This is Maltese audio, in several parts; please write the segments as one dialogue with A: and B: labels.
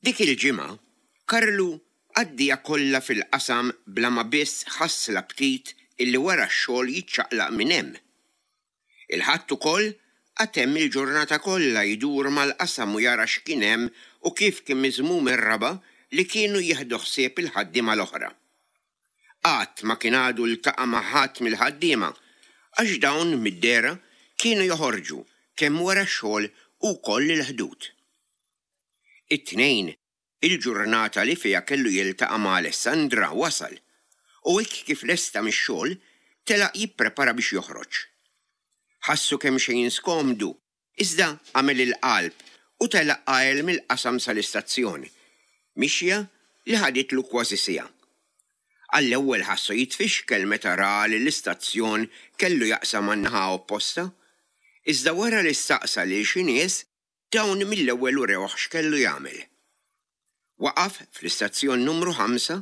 A: Dik il-ġimgħa, Karlu għaddieha kollha fil-qasam bla ma biss ħass l-aptit illi wara x-xogħol jiċċaqlaq minn hemm. Il-Ħadd ukoll qagħad hemm il-ġurnata kollha jdur mal-qasam u jara x'kien hemm u kif kien miżmum ir-raba' li kienu jieħdu ħsieb il-ħaddiema l-oħra. Qatt ma kien għadu ltaqa' ma' ħadd mill-ħaddiema għax dawn mid-dehra kienu joħorġu kemm wara x-xogħol u wkoll il-Ħdud. It-Tnejn, il-ġurnata li fiha kellu jiltaqa' ma' Alessandra wasal u hekk kif lesta mix-xogħol telaq jipprepara biex joħroġ. Ħassu kemxejn skomdu iżda għamel il-qalb u telaq għael mill-qasam sal-istazzjon, mixja li ħaditlu kważi siegħa. Għall-ewwel ħassu jitfixkel meta ra li l-istazzjon kellu jaqsam għan-naħa opposta, iżda wara li staqsa lil xi nies Dawn mill-ewwel urewh x'kellu jagħmel. Waqaf fl-istazzjon numru ħamsa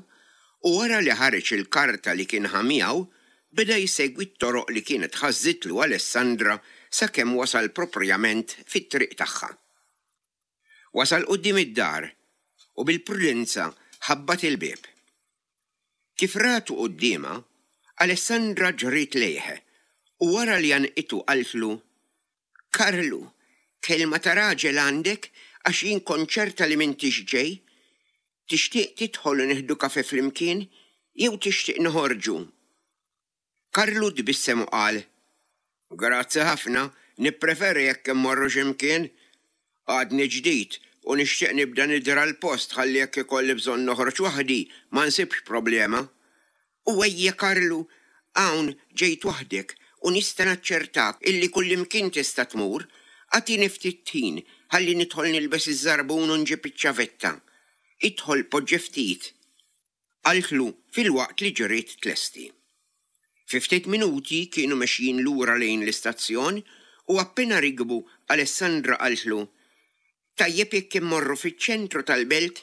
A: u wara li ħareġ il-karta li kien ħa miegħu, beda jsegwi t-toroq li kienet ħażżitlu Alessandra sakemm wasal proprjament fit-triq tagħha. Wasal quddiem id-dar u bil-prudenza ħabbat il-bieb. Kif ratu quddiemha, Alessandra ġriet lejh u wara li għannqitu qaltlu, Karlu, kelma ta' raġel għandek għax jien kont ċerta li m'intix ġej. Tixtieq tidħol u nieħdu kafè flimkien jew tixtieq noħorġu? Karlu tbissem u qal, Grazzi ħafna, nippreferi jekk immorru xi mkien. Għadni ġdid u nixtieq nibda nidra l-post ħalli jekk ikolli bżonn noħroġ waħdi ma nsibx problema. U ejja Karlu, hawn ġejt waħdek u nista' naċċertak illi kullimkien tista' tmur, agħtini ftit ħin ħalli nidħol nilbes iż-żarbun u nġib iċ-ċavetta. Idħol poġġi ftit. Qaltlu filwaqt li ġriet tlesti. Fi ftit minuti kienu mexjin lura lejn l-istazzjon u appena rikbu Alessandra qaltlu, Tajjeb jekk immorru fiċ-ċentru tal-belt,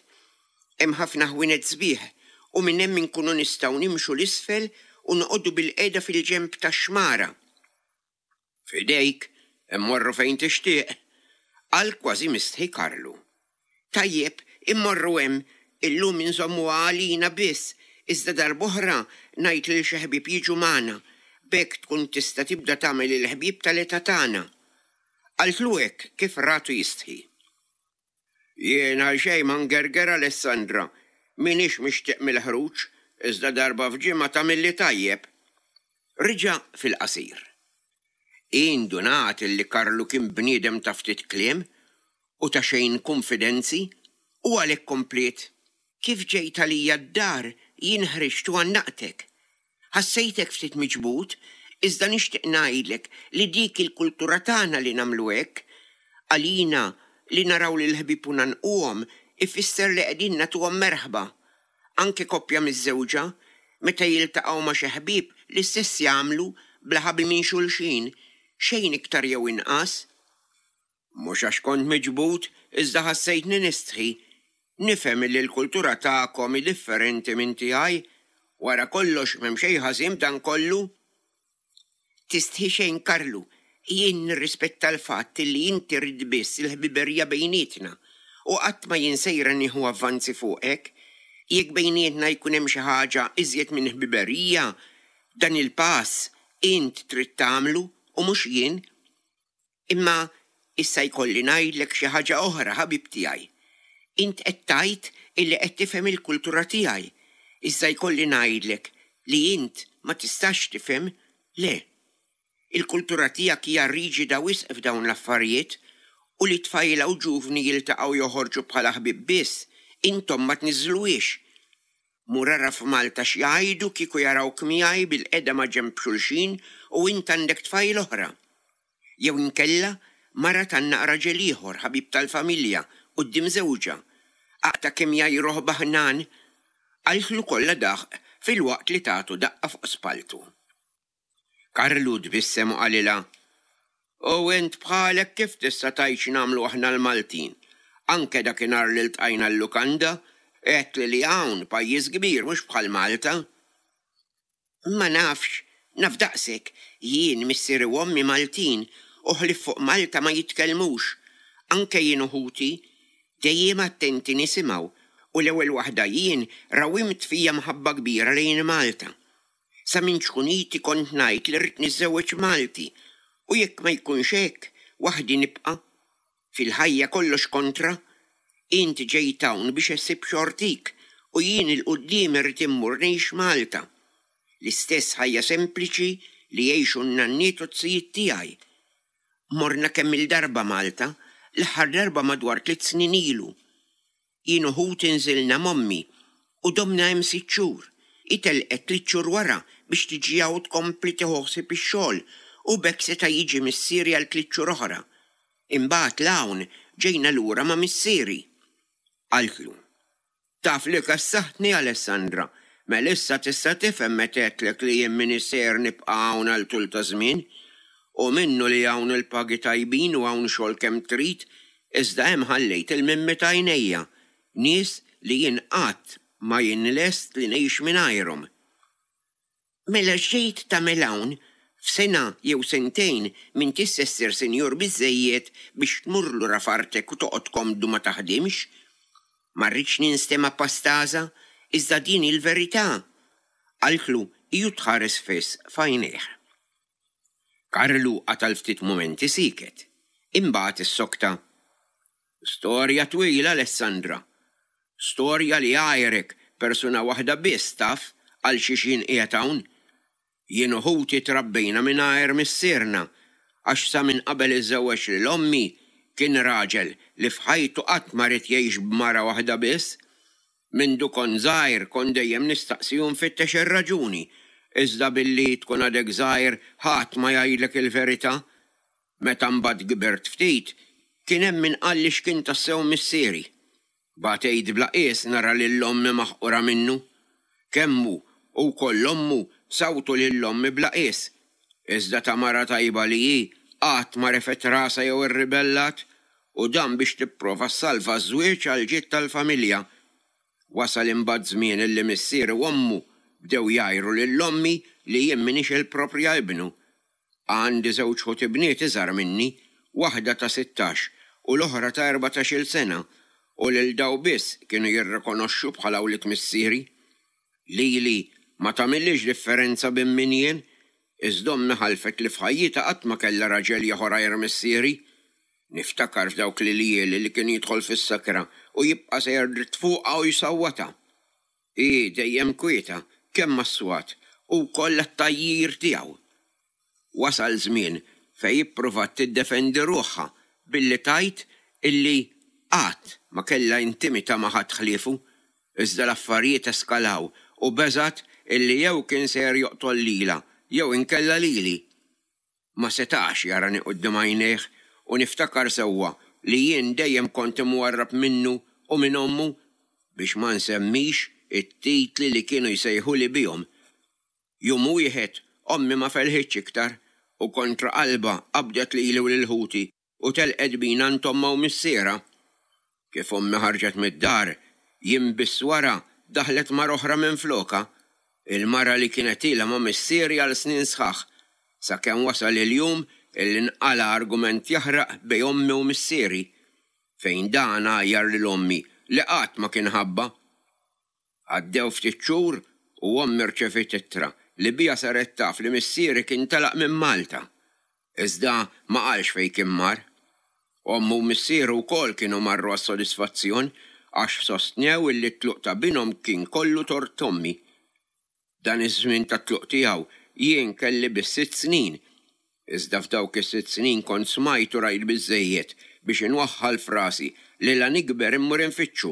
A: hemm ħafna ħwienet sbieħ u minn hemm inkunu nistgħu nimxu 'l isfel u noqogħdu bilqiegħda fil-ġenb tax-xmara. F'idejk, immorru fejn tixtieq, qal kważi mistħi Karlu. Tajjeb, immorru hemm, illum inżommuha għalina biss, iżda darb'oħra ngħid lil xi ħbieb jiġu magħna, b'hekk tkun tista' tibda tagħmel il-ħbieb tal-età tagħna. Qaltlu hekk kif ratu jistħi. Jien għal xejn ma ngerger Alessandra, m'iniex mixtieq mill-ħruġ, iżda darba f'ġimgħa tagħmilli tajjeb. Reġa' fil-qasir. Hi ndunat illi Karlu kien bniedem ta' ftit kliem u ta' xejn kunfidenzi u għalhekk kompliet. Kif ġejt għalija d-dar jien ħriġt u għannaqtek. Ħassejtek ftit miġbud, iżda nixtieq ngħidlek li dik il-kultura tagħna li nagħmlu hekk. Għalina li naraw lill-ħbieb u ngħannquhom ifisser li qegħdin nagħtuhom merħba. Anke koppja miżżewġa, meta jiltaqgħu ma' xi ħbieb l-istess jagħmlu bla ħabi minn xulxin, xejn iktar jew inqas. Mhux għax kont miġbud, iżda ħassejtni nistħi. Nifhem illi l-kultura tagħkom hi differenti minn tiegħi. Wara kollox m'hemm xejn ħażin b'dan kollu. Tistħi xejn Karlu, jien nirrispetta l-fatt illi inti ridt biss il-ħbiberija bejnietna u qatt ma jien sejra nieħu avvanzi fuqek. Jekk bejnietna jkun hemm xi ħaġa iżjed minn ħbiberija, dan il-pass int trid tagħmlu u mhux jien. Imma issa jkolli ngħidlek xi ħaġa oħra, ħabib tiegħi. Int qed tgħid illi qed tifhem il-kultura tiegħi, iżda jkolli ngħidlek li int ma tistax tifhem, le. Il-kultura tiegħek hija riġida wisq f'dawn l-affarijiet u li tfajla u ġuvni jiltaqgħu joħorġu bħala ħbieb biss, intom ma tniżżluhiex. Mur ara f'Malta x'jgħidu kieku jarawk miegħi bilqiegħda maġenb xulxin u int għandek tfajla oħra. Jew inkella mara tgħannaq raġel ieħor, ħabib tal-familja, quddiem żewġha. Aqta' kemm jgħajruh baħnan! Qaltlu kollha daħq filwaqt li tatu daqqa fuq spalltu. Karlu tbissem u qalilha, U int bħalek kif tista' tgħid x'nagħmlu aħna l-Maltin? Anke dakinhar li ltqajna l-lukanda, għedtli li hawn pajjiż kbir mhux bħal Malta. Ma nafx, naf daqsek, jien missieri u ommi Maltin u ħlief fuq Malta ma jitkellmux. Anke jien u ħuti. Dejjem attenti nisimgħu u l-ewwel waħda jien rawimt fija mħabba kbira lejn Malta. Sa minn ċkuniti kont ngħid li rrid niżżewweġ Malti u jekk ma jkunx hekk, waħdi nibqa'. Fil-ħajja kollox kontra. Int ġejt hawn biex issib xortik u jien 'il quddiem irrid immur ngħix Malta. L-istess ħajja sempliċi li jgħixu n-nanniet u t-zijiet tiegħi. Morna kemm-il darba Malta, l-aħħar darba madwar tliet snin ilu. Jien u ħuti nżilna m'ommi u domna hemm sitt xhur. Hi telqet tliet xhur wara biex tiġi hawn tkompli tieħu ħsieb ix-xogħol u b'hekk seta' jiġi missieri għal tliet xhur oħra. Imbagħad 'l hawn ġejna lura ma' missieri. Qaltlu. Taf li kessaħtni Alessandra, mela issa tista' tifhem meta għedtlek li jien m'iniex sejjer nibqa' hawn għal tul ta' żmien. Hu minnu li hawn il-pagi tajbin u hawn xogħol kemm trid, iżda hemm ħallejt il-mimmi t'għajnejja, nies li jien qatt ma jien lest li ngħix mingħajrhom. Mela x'ġejt tagħmel hawn? F'sena jew sentejn m'intix se ssir sinjur biżżejjed biex tmur lura f'artek u toqgħod komdu ma taħdimx? Ma rridx ninstema' pastaża, iżda din hi l-verità! Qaltlu hi u tħares fiss f'għajnejh. Karlu qata' l-ftit mumenti sieket. Imbagħad issokta, Storja twila, Alessandra. Storja li għajrek persuna waħda biss taf għal xiex jien qiegħed hawn. Jien u ħuti trabbejna mingħajr missierna għax sa minn qabel iżżewweġ lil ommi kien raġel li f'ħajtu qatt ma ried jgħix b'mara waħda biss. Mindu kont żgħir kont dejjem nistaqsi u nfittex ir-raġuni, iżda billi tkun għadek żgħir ħadd ma jgħidlek il-verità. Meta mbagħad kbirt ftit, kien hemm min qalli x'kien tassew missieri. Batejt bla qies nara lil ommi maħqura minnu. Kemm hu u wkoll ommu sawtu lil ommi bla qies. Iżda ta' mara tajba li hi, qatt ma refgħet rasha jew irribellat, u dan biex tipprova ssalva ż-żwieġ għall-ġid tal-familja. Wasal imbagħad żmien illi missieri u ommu bdew jgħajru lil ommi li jien m'iniex il-proprja ibnu. Għandi żewġ ħuti bniet iżgħar minni, waħda ta' 16 u l-oħra ta' 14-il sena, u lil daw biss kienu jirrikonoxxu bħala wlied missieri. Lili ma tagħmillix differenza bejn min jien, iżda ommi ħalfet li f'ħajjitha qatt ma kellha raġel ieħor għajr missieri. Niftakar f'dawk l-iljieli li kien jidħol fis-sakra u jibqa' sejjer dritt fuqha u jsawwatha. Hi dejjem kwieta, kemm għas-swat u wkoll għat-tgħajjir tiegħu. Wasal żmien fejn ippruvat tiddefendi ruħha billi tgħid illi qatt ma kellha intimità ma' ħadd ħliefu, iżda l-affarijiet eskalaw u beżgħet illi jew kien sejjer joqtol lilha jew inkella lili. Ma setax jarani quddiem għajnejh u niftakar sewwa li jien dejjem kont imwarrab minnu u minn ommu, biex ma nsemmix it-titli li kienu jsejħuli bihom. Jum wieħed ommi ma felħitx iktar u kontra qalbha qabdet lili u lil ħuti u telqet bina għand ommha u missierha. Kif ommi ħarġet mid-dar, jiem biss wara daħlet mara oħra minflokha, il-mara li kienet ilha ma' missieri għal snin sħaħ, sakemm wasal il-jum illi nqala' argument jaħraq bejn ommi u missieri, fejn dan għajjar lil ommi li qatt ma kien ħabbha. Għaddew ftit xhur u ommi rċeviet ittra li biha saret taf li missieri kien telaq minn Malta. Iżda ma qalx fejn kien mar. Ommu u missieru wkoll kienu marru għas-sodisfazzjon għax sostnew illi t-tluq ta' binhom kien kollu tort ommi. Dan iż-żmien tat-tluq tiegħu jien kelli biss sitt snin. Iżda f'dawk is-sitt snin kont smajt u rajt biżżejjed biex inwaħħal f'rasi li la nikber immur infittxu.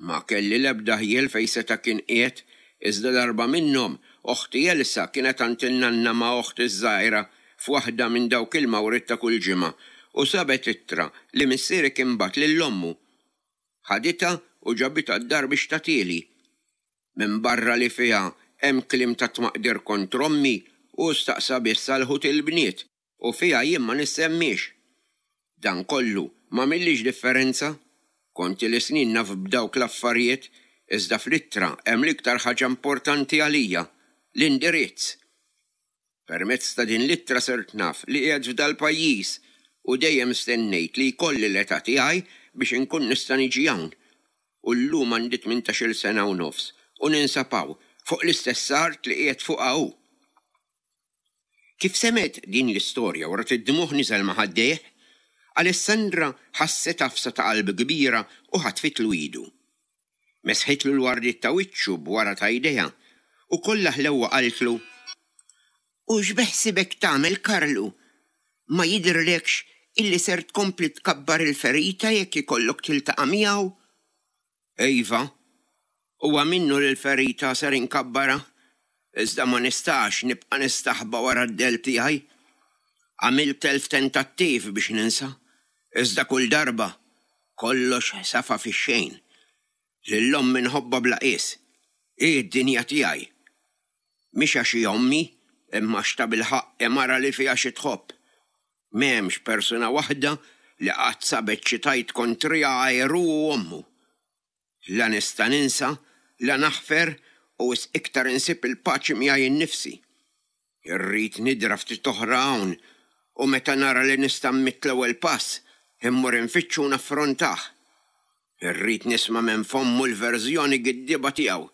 A: Ma kelli l-ebda ħjiel fejn seta' kien qiegħed, iżda darba minnhom, oħti Elsa kienet għand in-nanna ma' oħti ż-żgħira f'waħda minn dawk il-mawriet ta' kull ġimgħa u sabet ittra li missieri kien bagħat lil ommu. Ħaditha u ġabitha d-dar biex tagħtieli. Minbarra li fiha hemm kliem ta' tmaqdir kontra ommi, hu staqsa biss għal ħuti l-bniet u fiha jien ma nissemmiex. Dan kollu m'għamillix differenza. Kont ili snin naf b'dawk l-affarijiet, iżda fl-ittra hemm l-iktar ħaġa importanti għalija, l-indirizz. Permezz ta' din l-ittra sirt naf li qiegħed f'dal-pajjiż u dejjem stennejt li jkolli l-età tiegħi biex inkun nista' niġi hawn. U llum għandi tmintax-il sena u nofs u ninsab hawn, fuq l-istess art li qiegħed fuqha hu. Kif semgħet din l-istorja u rat id-dmugħ niżel ma' ħaddejh, Alessandra ħasset għafsa ta' qalb kbira u ħatfitlu idu. Mesħitlu l-wardiet ta' wiċċu b'wara ta' jdejha u kollha ħlewwa qaltlu, U x'beħsibek tagħmel Karlu? Ma jidhirlekx illi ser tkompli tkabbar il-ferita jekk ikollok tiltaqa' miegħu? Iva, huwa minnu li l-ferita ser inkabbarha, iżda ma nistax nibqa' nistaħba wara d-dell tiegħi. Għamilt elf tentattiv biex ninsa, iżda kull darba Kollox safa fix-xejn. Lil ommi nħobbha bla qies. Hi d-dinja tiegħi. Mhix għax hi ommi, imma għax tabilħaqq hi mara li fiha xi tħobb. M'hemmx persuna waħda li qatt sabet xi tgħid kontriha għajr hu u ommu. La nista' ninsa, la naħfer u wisq iktar insib il-paċi miegħi nnifsi. Irrid nidra ftit oħra hawn u meta nara li nista' mmidd l-ewwel pass, immur infittxu u naffrontah. Irrid nisma' minn fommu l-verżjoni giddieba tiegħu.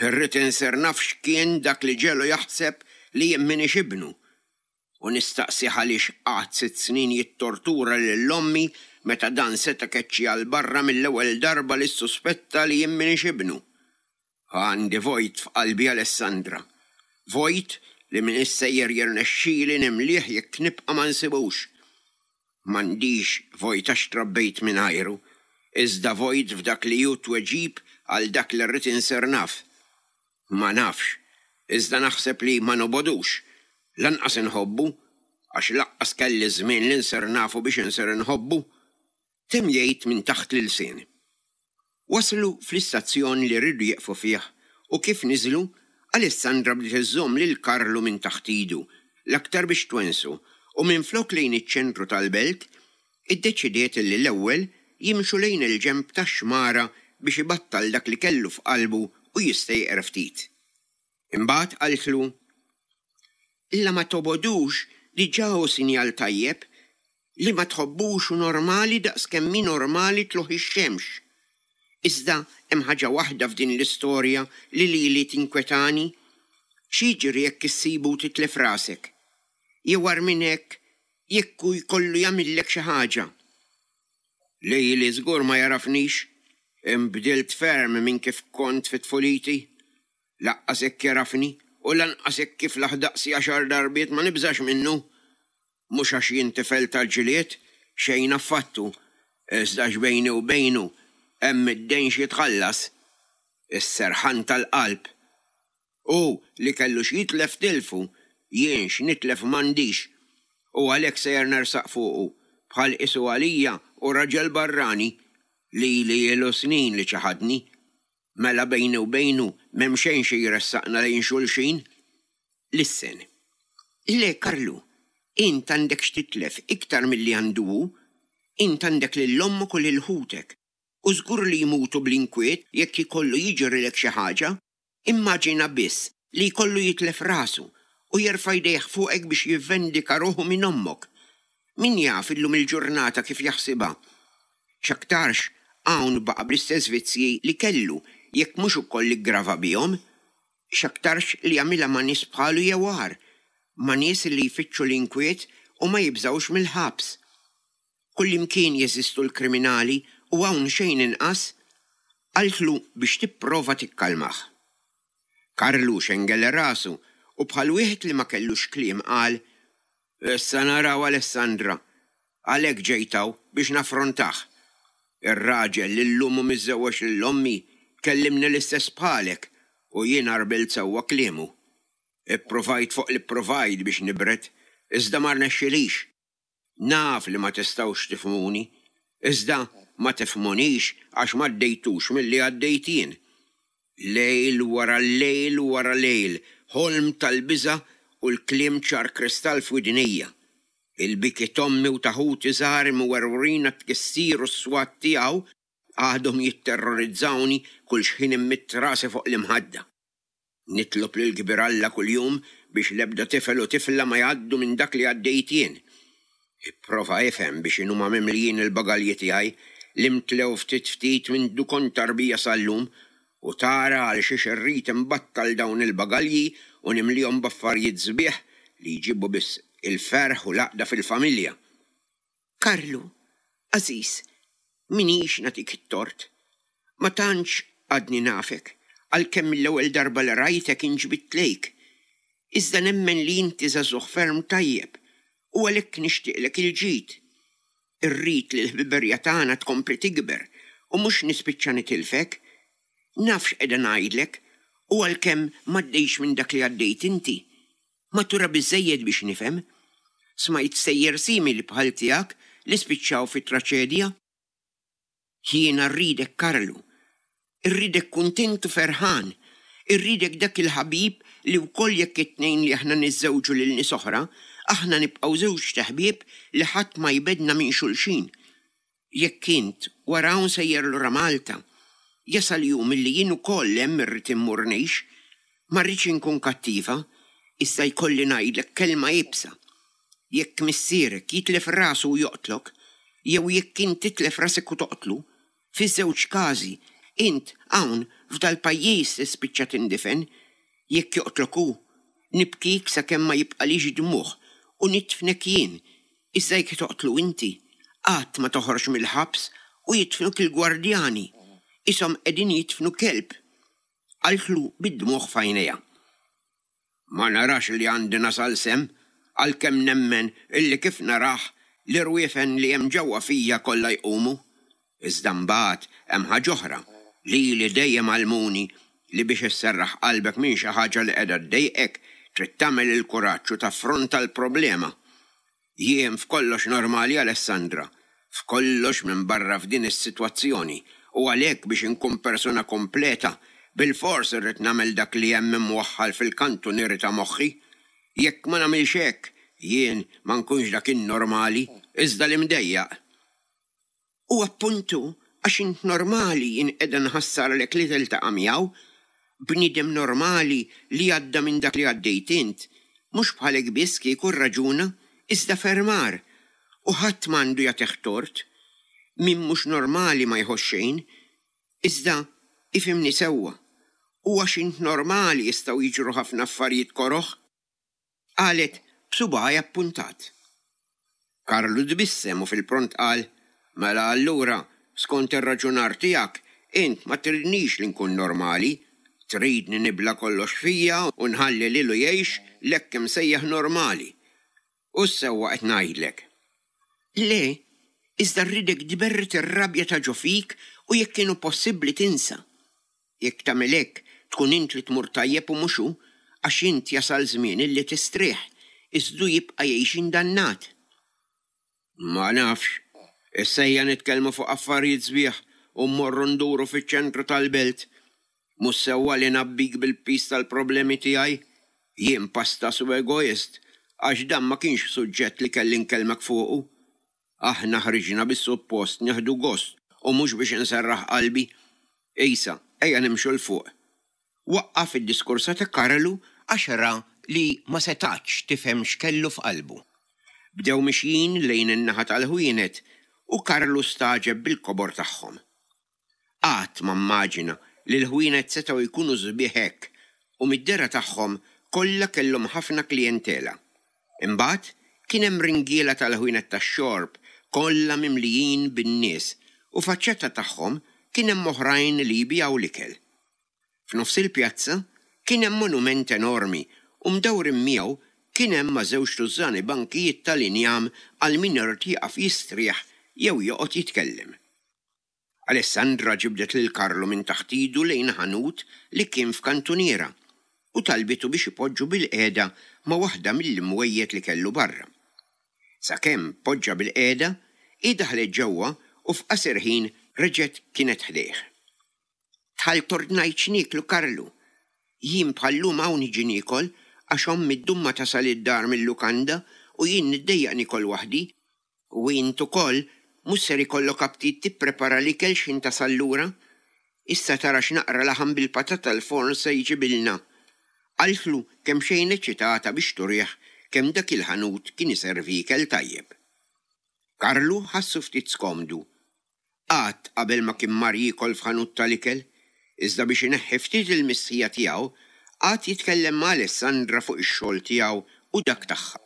A: Irrid insir naf x'kien dak li ġegħlu jaħseb li jien m'iniex ibnu. U nistaqsih għaliex qagħad sitt snin jittortura lil ommi meta dan seta' keċċiha 'l barra mill-ewwel darba li ssuspetta li jien m'iniex ibnu. Għandi vojt f'qalbi Alessandra. Vojt li m'iniex sejjer jirnexxili nimlieh jekk nibqa' ma nsibux. M'għandix vojt għax trabbejt mingħajru, iżda vojt f'dak li hu tweġib għal dak li rrid insir naf. Ma nafx, iżda naħseb li ma nobogħdux, lanqas inħobbu, għax lanqas kelli ż-żmien li nsir nafu biex insir inħobbu, temm jgħid minn taħt l-ilsien. Waslu fl-istazzjon li riedu jieqfu fih u kif niżlu, Alessandra bdiet iżżomm lil Karlu minn taħt idu, l-aktar biex twensu, u minflok lejn iċ-ċentru tal-belt, iddeċidiet li l-ewwel jimxu lejn il-ġenb tax-xmara biex ibattal dak li kellu f'qalbu u jistejqer ftit. Imbagħad qaltlu, La ma tobogħdux diġà hu sinjal tajjeb. Li ma tħobbux hu normali daqs kemm hi normali tlugħ ix-xemx. Iżda hemm ħaġa waħda f'din l-istorja li lili tinkwetani. X'jiġri jekk issibu u titlef rasek? Jew agħar minn hekk, jekk hu jkollu jagħmillek xi ħaġa? Lili żgur ma jagħrafnix. Inbdilt ferm minn kif kont fi tfuliti. Laqqas hekk jagħrafni u lanqas hekk kif laħ daqsi għaxar darbiet ma nibżax minnu. Mhux għax jien tifel tal-ġlied, xejn affattu, iżda għax bejni u bejnu hemm id-dejn x'jitħallas. Is-serħan tal-qalb. Hu li kellu x'jitlef tilfu, jien x'nitlef m'għandix. U għalhekk sejjer nersaq fuqu, bħal qisu għalija hu raġel barrani, lili ilu snin li ċaħadni. Mela bejni u bejnu m'hemm xejn xi jressaqna lejn xulxin. Lissen. Le, Karlu, int għandek x'titlef iktar milli għandu hu. Int għandek lil ommok u lil ħutek. U żgur li jmutu bl-inkwiet jekk ikollu jiġrilek xi ħaġa. Immaġina biss li jkollu jitlef rasu u jerfa' jdejh fuqek biex jivvendika ruħu minn ommok. Min jaf illum il-ġurnata kif jaħsibha? X'aktarx hawn baqa' bl-istess vizzji li kellu jekk mhux ukoll iggrava bihom. X'aktarx li jagħmilha ma' nies bħalu jew agħar, ma' nies li jfittxu l-inkwiet u ma jibżgħux mill-ħabs. Kullimkien jeżistu l-kriminali u hawn xejn inqas, qaltlu biex tipprova tikkalmah. Karlu xengel rasu u bħal wieħed li ma kellux kliem qal, Issa naraw Alessandra. Għalhekk ġejt hawn, biex naffrontah. Ir-raġel li llum hu miżżewweġ lil ommi kellimni l-istess bħalek u jien għarbilt sewwa kliemu. Ippruvajt fuq li ppruvajt biex nibred, iżda ma rnexxilix. Naf li ma tistgħux tifhmuni, iżda ma tifhmunix għax m'għaddejtux milli għaddejt jien. Lejl wara lejl wara lejl, ħolm tal-biża' u l-kliem ċar kristall f'widnejja. Il-biki t'ommi u ta' ħuti żgħar imwerwrin għat-tkissir u s-swat tiegħu għadhom jitterrorizzawni kull xħin immidd rasi fuq l-imħadda. Nitlob lill-Kbir Alla kuljum biex l-ebda tifel u tifla ma jgħaddu minn dak li għaddejt jien. Ipprova ifhem biex inhuma mimlijin il-bagalji tiegħi. li mtlew ftit ftit mindu kont tarbija sal-lum u tara għal xiex irrid inbattal dawn il-bagalji u nimlihom b'affarijiet sbieħ li jġibu biss il-ferħ u l-għaqda fil-familja. Karlu, għażiż, m'iniex nagħtik it-tort. Ma tantx għadni nafek, għalkemm mill-ewwel darba li rajtek inġbidt lejk. Iżda nemmen li inti żagħżugħ ferm tajjeb u għalhekk nixtieqlek il-ġid. Irrid li l-ħbiberja tagħna tkompli tikber u mhux nispiċċa nitilfek. Naf x'qiegħda ngħidlek u għalkemm m'għaddejtx minn dak li għaddejt inti, matura biżżejjed biex nifhem. Smajt stejjer simili bħal tiegħek li spiċċaw fi traċedja. Jiena rridek Karlu. Irridek kuntent u ferħan. Irridek dak il-ħabib li wkoll jekk it-tnejn li aħna niżżewġu lil nies oħra, aħna nibqgħu żewġt iħbieb li ħadd ma jbegħdna minn xulxin. Jekk int, wara hawn sejjer lura Malta, jasal jum illi jien ukoll hemm irrid immur ngħix. Ma rridx inkun kattiva, iżda jkolli ngħidlek kelma iebsa. Jekk missierek jitlef rasu u joqtlok, jew jekk int titlef rasek u toqtlu, fiż-żewġ każi, int hawn f'dal-pajjiż tispiċċa tindifen. Jekk joqtlok hu, nibkik sakemm ma jibqalix dmugħ u nidfnek jien, iżda jekk toqtlu inti, qatt ma toħroġ mill-ħabs u jidfnuk il-gwardjani, qishom qegħdin jidfnu kelb. Qaltlu bid-dmugħ f'għajnejha. Ma narax li għandi nasal s'hemm, għalkemm nemmen illi kif narah, l-irwiefen li hemm ġewwa fija kollha jqumu. Iżda mbagħad hemm ħaġa oħra, lili dejjem għallmuni li biex isserraħ qalbek minn xi ħaġa li qiegħda ddejqek, trid tagħmel il-kuraġġ u taffronta l-problema. Jien f'kollox normali Alessandra, f'kollox minbarra f'din is-sitwazzjoni u għalhekk biex inkun persuna kompleta bilfors irrid nagħmel dak li hemm imwaħħal fil-kantunieri ta' moħħi. Jekk ma nagħmilx hekk, jien ma nkunx dak in-normali, iżda l-imdejjaq. U appuntu għax int normali jien qiegħda nħassarlek li tiltaqa' miegħu. Bniedem normali li għadda minn dak li għaddejt int, mhux bħalek biss kieku rraġuna, iżda ferm agħar. U ħadd m'għandu jagħtih tort. Min mhux normali ma jħoss xejn. Iżda, ifhimni sewwa, u għax int normali jistgħu jiġru ħafna affarijiet koroh. Qalet b'subgħajha ppuntat. Karlu tbissem u fil-pront qal, Mela allura, skont ir-raġunar tiegħek, int ma tridnix li nkun normali. Tridni nibla' kollox fija u nħalli lilu jgħix l-hekk imsejjaħ normali. U s-sewwa qed ngħidlek. Le, iżda rridek tberred ir-rabja ta' ġo fik u jekk inhu possibbli tinsa. Jekk tagħmel hekk, tkun int li tmur tajjeb u mhux hu, għax int jasal żmien illi tistrieħ, iżda hu jibqa' jgħix indannat. Ma nafx. Issa ejja nitkellmu fuq affarijiet sbieħ u mmorru nduru fiċ-ċentru tal-belt. Mhux sewwa li ngħabbik bil-piż tal-problemi tiegħi. Jien pastas u egoist, għax dan ma kienx suġġett li kelli nkellmek fuqu. Aħna ħriġna bis-suppost nieħdu gost u mhux biex inserraħ qalbi. Isa, ejja nimxu 'l fuq. Waqqaf id-diskursa ta' Karlu għax ra li ma setgħatx tifhem x'kellu f'qalbu. Bdew mixjin lejn in-naħa tal-ħwienet u Karlu stagħġeb bil-kobor tagħhom. Qatt ma mmaġina li l-ħwienet setgħu jkunu sbieħ hekk u mid-dehra tagħhom kollha kellhom ħafna klijentela. Imbagħad kien hemm ringiela tal-ħwienet tax-xorb kollha mimlijin bin-nies u faċċata tagħhom kien hemm oħrajn li jbigħu l-ikel. F'nofs il-pjazza kien hemm monument enormi u mdawrin miegħu kien hemm ma' żewġ tużżani bankijiet tal-injam għal min irid jieqaf jistrieħ jew joqgħod jitkellem. Alessandra ġibdet lil Carlo minn taħt idu lejn ħanut li kien f'kantuniera u talbitu biex ipoġġu bilqiegħda ma' waħda mill-imwejjed li kellu barra. Sakemm poġġa bilqiegħda, hi daħlet ġewwa u f'qasir ħin reġgħet kienet ħdejh. Dħalt ordnajt x'nieklu Carlu. Jien bħal-lum hawn niġi niekol għax ommi ddum ma tasal id-dar mil-lukanda u jien niddejjaq niekol waħdi U int ukoll mhux ser ikollok aptit tipprepara l-ikel x'ħin tasal lura? Issa tara x'naqra laħam bil-patata l-forn se jġibilna. Qaltlu kemxejn eċċitata biex turih kemm dak il-ħanut kien iservi ikel tajjeb. Karlu ħassu ftit skomdu. Qatt qabel ma kien mar jiekol f'ħanut tal-ikel, iżda biex ineħħi ftit il-mistħija tiegħu, qagħad jitkellem ma' Alessandra fuq ix-xogħol tiegħu u dak tagħha.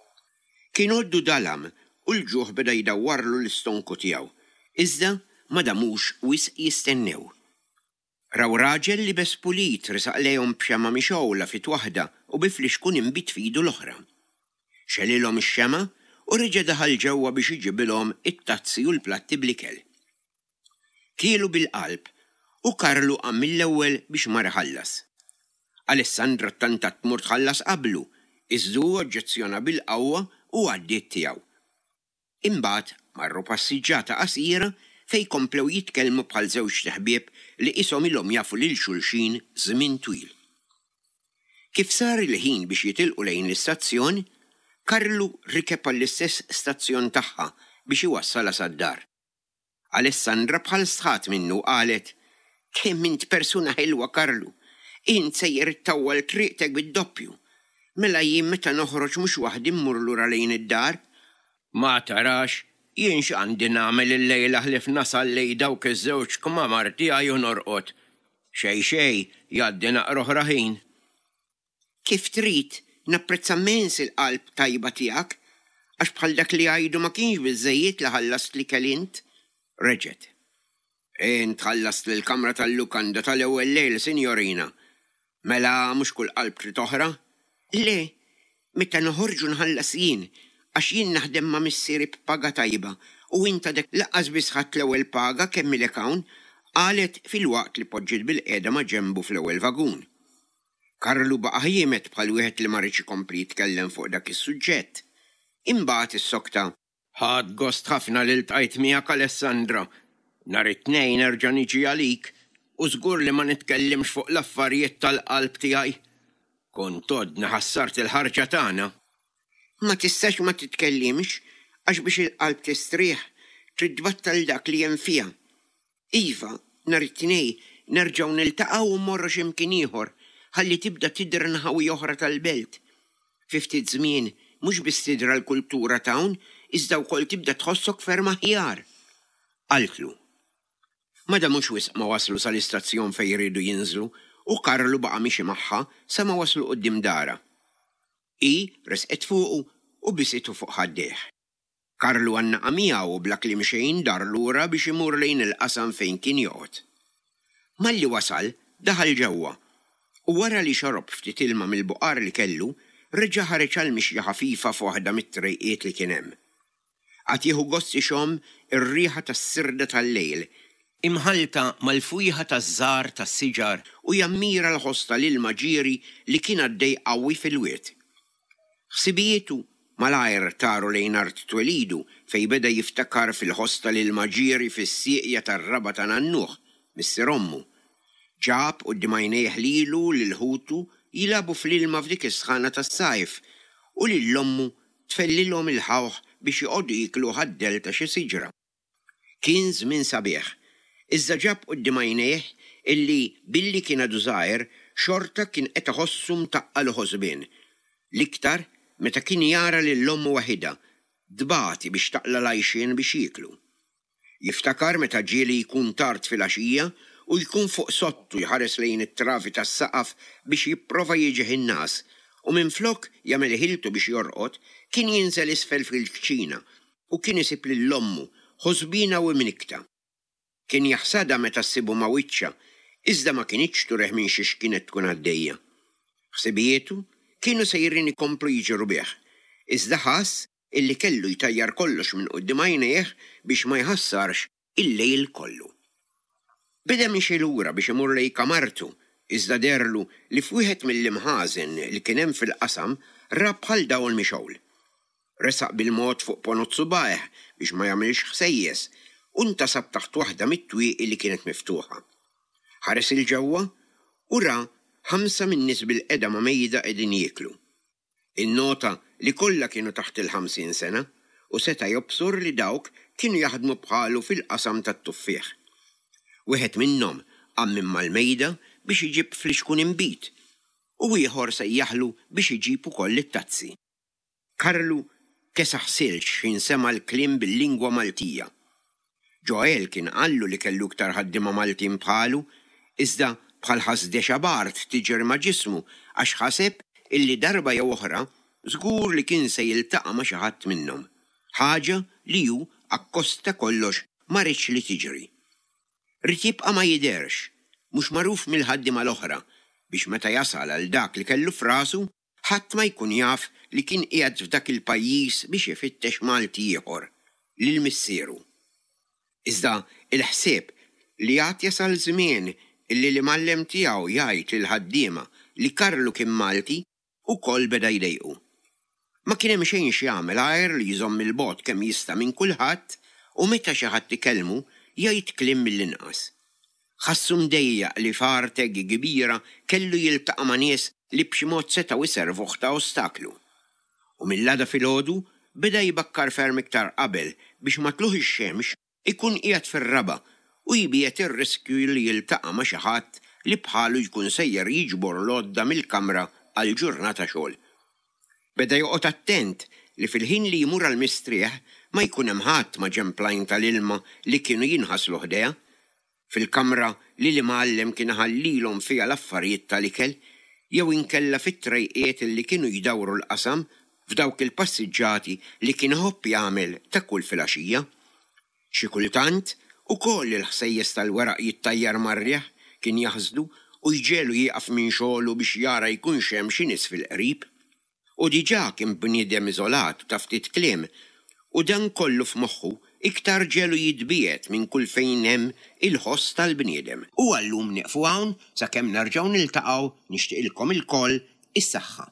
A: Kien għoddu dalam u l-ġuħ beda jdawwarlu l-istonku tiegħu, iżda ma damux wisq jistennew. Raw raġel liebes pulit resaq lejhom b'xemgħa mixgħula f'id waħda u bi flixkun inbid f'idu l-oħra. Xegħlilhom ix-xemgħa u reġa' daħal ġewwa biex iġibilhom it-tazzi u l-platti bl-ikel. Kielu bil-qalb u Karlu qam mill-ewwel biex mar iħallas. Alessandra ttantat tmur tħallas qablu, iżda hu oġġezzjona bil-qawwa u għaddiet tiegħu. Imbagħad marru passiġġata qasira fejn komplew jitkellmu bħal żewġt iħbieb li qishom ilhom jafu lil xulxin żmien twil. Kif sar il-ħin biex jitilqu lejn l-istazzjon, Karlu rikeb għall-istess stazzjon tagħha biex iwassalha sad-dar. Alessandra bħal stħat minnu u qalet, Kemm int persuna ħelwa Karlu! Int sejjer ittawwal triqtek bid-doppju. Mela jien meta noħroġ mhux waħdi mmur lura lejn id-dar? Ma tarax, jien x'għandi nagħmel illejla ħlief nasal lejn dawk iż-żewġ kmamar tiegħi u norqod. Xejn xejn, jgħaddi naqra oħra ħin. Kif trid, napprezza mmens il-qalb tajba tiegħek, għax bħal dak li jgħidu ma kienx biżżejjed li ħallast l-ikel int. Reġgħet. Int ħallast l-kamra tal-lukanda tal-ewwel lejl, sinjorina. Mela mhux kull qalb trid oħra? Le, meta noħorġu nħallas jien, għax jien naħdem ma' missieri b'paga tajba u int għadek lanqas biss ħadt l-ewwel paga kemm ilek hawn, qalet filwaqt li poġġiet bilqiegħda ma' ġenbu fl-ewwel vagun. Karlu baqa' ħiemed bħal wieħed li ma riedx ikompli jitkellem fuq dak is-suġġett. Imbagħad issokta. Ħadt gost ħafna li ltqajt miegħek Alessandra. Nhar it-Tnejn nerġa' niġi għalik u żgur li ma nitkellimx fuq l-affarijiet tal-qalb tiegħi. Kont għoddni ħassart il-ħarġa tagħna. Ma tistax ma titkellimx għax biex il-qalb tistrieħ trid tbattal dak li hemm fiha. Iva, nhar it-Tnejn nerġgħu niltaqgħu u mmorru xi mkien ieħor ħalli tibda tidher nħawi oħra tal-belt. Fi ftit żmien mhux biss tidra l-kultura t'hawn iżda wkoll tibda tħossok ferm aħjar. Qaltlu. Ma damux wisq ma waslu sal-istazzjon fejn riedu jinżlu u Karlu baqa' miexi magħha sa ma waslu quddiem darha. Hi resqet fuqu u bisitu fuq ħaddejh. Karlu għannaqa miegħu u bla kliem xejn dar lura biex imur lejn il-qasam fejn kien joqgħod. Malli wasal, daħal ġewwa u wara li xorob ftit ilma mill-buqar li kellu, reġa' ħareġ għal mixja ħafifa f'waħda mit-trejqiet li kien hemm. Qagħad jieħu gost ixomm ir-riħa tas-sirda tal-lejl, imħallta mal-fwieħa taż-żahar tas-siġar u jammira l-ħoss tal-ilma ġieri li kien għaddej qawwi fil-wied. Ħsibijietu malajr taru lejn art twelidu fejn beda jiftakar fil-ħoss tal-ilma ġieri fis-sieqja tar-raba' ta' nannuh, missier ommu. Ġab quddiem għajnejh lilu u lil ħutu jilagħbu fl-ilma f'dik is-sħana tas-sajf u lil ommu tfellilhom il-ħawħ biex joqogħdu jiekluh għad-dell ta' xi siġra. Kien żmien sabiħ, iżda ġab quddiem għajnejh illi billi kien għadu żgħir xorta kien qed iħossu mtaqqal u ħosbien, l-iktar meta kien jara lil ommu waħidha tbati biex taqla' l-għajxien biex jieklu. Jiftakar meta ġieli jkun tard filgħaxija u jkun fuq sodtu jħares lejn it-travi tas-saqaf biex jipprova jiġih in-ngħas u minflok jagħmel ħiltu biex jorqod kien jinżel isfel fil-kċina u kien isib lil ommu ħosbiena u imnikkta. Kien jaħsadha meta ssibu ma' wiċċha, iżda ma kinitx turih minn xiex kienet tkun għaddejja. Ħsibijietu kienu sejrin ikomplu jiġru bih, iżda ħass illi kellu jtajjar kollox minn quddiem għajnejh biex ma jħassarx il-lejl kollu. Beda miexi lura biex imur lejn kamartu, iżda deherlu li f'wieħed mill-imħażen li kien hemm fil-qasam ra bħal dawl mixgħul. Resaq bil-mod fuq ponot subgħajh biex ma jagħmilx ħsejjes u ntasab taħt waħda mit-twieqi li kienet miftuħa. Ħares 'il ġewwa u ra ħamsa min-nies bilqiegħda ma' mejda qegħdin jieklu. Innota li kollha kienu taħt il-50 sena u seta' jobsor li dawk kienu jaħdmu bħalu fil-qasam tat-tuffieħ. Wieħed minnhom qam minn mal-mejda biex iġib flixkun inbid u ieħor sejjaħlu biex iġib ukoll it-tazzi. Karlu kesaħ silġ x'ħin sema' l-kliem bil-lingwa Maltija. Joel kien qallu li kellu iktar ħaddiema Maltin bħalu, iżda bħal ħass dexa b'art tiġri ma' ġismu għax ħaseb illi darba jew oħra żgur li kien se jiltaqa' ma' xi ħadd minnhom, ħaġa li hu akkost ta' kollox ma riedx li tiġri. Ried jibqa' ma jidherx, mhux magħruf mill-ħaddiema l-oħra, biex meta jasal għal dak li kellu f'rasu, ħadd ma jkun jaf li kien qiegħed f'dak il-pajjiż biex ifittex Malti ieħor, lil missieru. Iżda l-ħsieb li għad jasal żmien illi l-imgħallem tiegħu jgħid lill-ħaddiema li Karlu kien Malti ukoll beda jdejqu. Ma kien hemm xejn x'jagħmel għajr li jżomm 'il bogħod kemm jista' minn kulħadd u meta xi ħadd ikellmu jgħid kliem mill-inqas. Ħassu mdejjaq li f'art hekk kbira kellu jiltaqa' ma' nies li b'xi mod setgħu jservuh ta' ostaklu. U mill-għada filgħodu beda jbakkar ferm iktar qabel biex ma' tlugħ ix-xemx ikun qiegħed fir-raba' u jbiegħed ir-riskju li jiltaqa' ma' xi ħadd li bħalu jkun sejjer jiġbor l-għodda mill-kamra għal ġurnata xogħol. Beda joqgħod attent li fil-ħin li jmur għall-mistrieħ ma jkun hemm ħadd maġenb l-għajn tal-ilma li kienu jinħaslu ħdejha, fil-kamra li l-imgħallem kien iħallilhom fiha l-affarijiet tal-ikel, jew inkella fit-trejqiet li kienu jdawru l-qasam f'dawk il-passiġġati li kien iħobb jagħmel ta' kull filgħaxija. Xi kultant, ukoll il-ħsejjes tal-weraq jittajjar mar-riħ kien jaħsdu u jġegħlu jieqaf minn xogħlu biex jara jkunx hemm xi nies fil-qrib. Hu diġà kien bniedem iżolat u ta' ftit kliem, u dan kollu f'moħħu iktar ġegħlu jitbiegħed minn kull fejn hemm il-ħoss tal-bniedem. U għal-lum nieqfu hawn sakemm nerġgħu niltaqgħu nixtieqilkom ilkoll is-saħħa.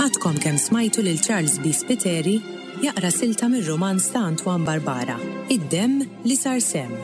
B: Għadkom kemm smajtu lil Charles B. Spiteri jaqra silta mir-rumanz ta' Antoine Barbara, Id-Demm li Sar Semm.